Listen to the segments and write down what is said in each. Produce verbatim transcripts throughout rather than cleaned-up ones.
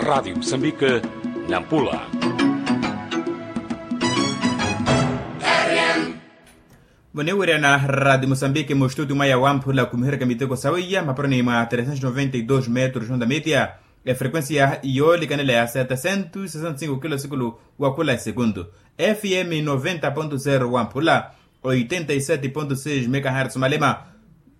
Radiyo musambike, nampula. Muniwirana radiyo musambike mustutu mwaya wamphula khumihereka miteko sawiya maparoni mwa tresentos noventa y dos metros onda media. Efrequencia yoolikanela ya setesentos sesenta y cinco kilo sikulu, wakhula esekundu. Fm noventa ponto zero wamphula, oitenta y sete ponto seis megahertz malema,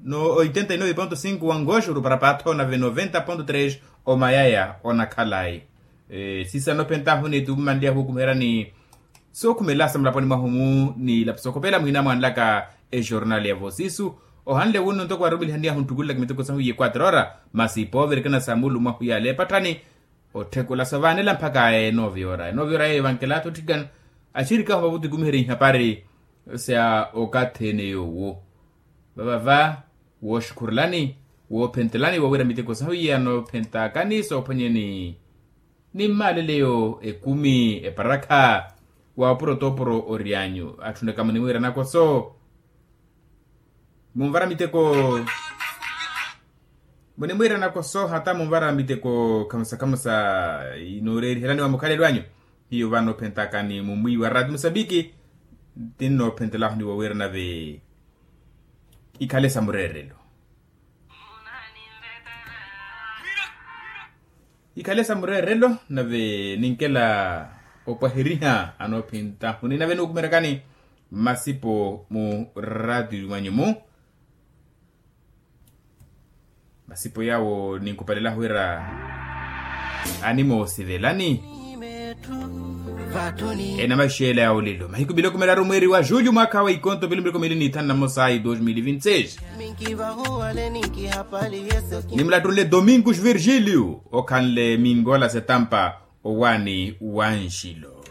no oitenta y nove ponto cinco wangoxuru para paatho nave noventa ponto tres omayaya onakhalayi. Sisa nophentahu ni tumanliya hukumiherani sookhumela sa mulaponi mwahu mu ni lapu sookhopela muhina mwanlaka. Ejornal ya vosisu ohanle wunno ntoko arumilihaniyahu nttukulelaka miteko sahu ye quatro hora, masi poovirikana sa mulu mwahu yale epatthani. Otthekula sovaanela mpakha enovi ora enovi ora yeyo vankelatho otthikana axirikahu vavuti khumiherya ihapari sa okathi ene yoowo. Vavava wooxukhurelani, woophentelani wowira miteko sahu iye anoophentaakani soophwanyeni ni mmaaleleyo ekumi eparakha. Wa opuro t'opuro oryanyu atthunaka muniwiira nakoso. Munvara miteko munimwiira nakoso hata munvara miteko khamusa khamusa inooreerihelani wa mukhalelo anyu. Hiyo vano ophentaka ni mumwiiwa rati musambiki. Tinnoophentelaho ni wowiira nave ikhale sa mureerelo. Ikhale sa mureerelo nave ninkela opwaheriha anoophintahu ni nave nuukumerekani masipo mu ratiyo mwanyu mu masipo yawo ninkupalela wira animoosivelani. Enamaxela ya olelo mahiku mili okumelaru mweeri wa julho mwaakha wa ikonto mili mili okumili ni thanu na mosa ayi dos mil vinti seis. Nimulattunle domingos virgilio okhanle mingola setampa owaani wa nxilo.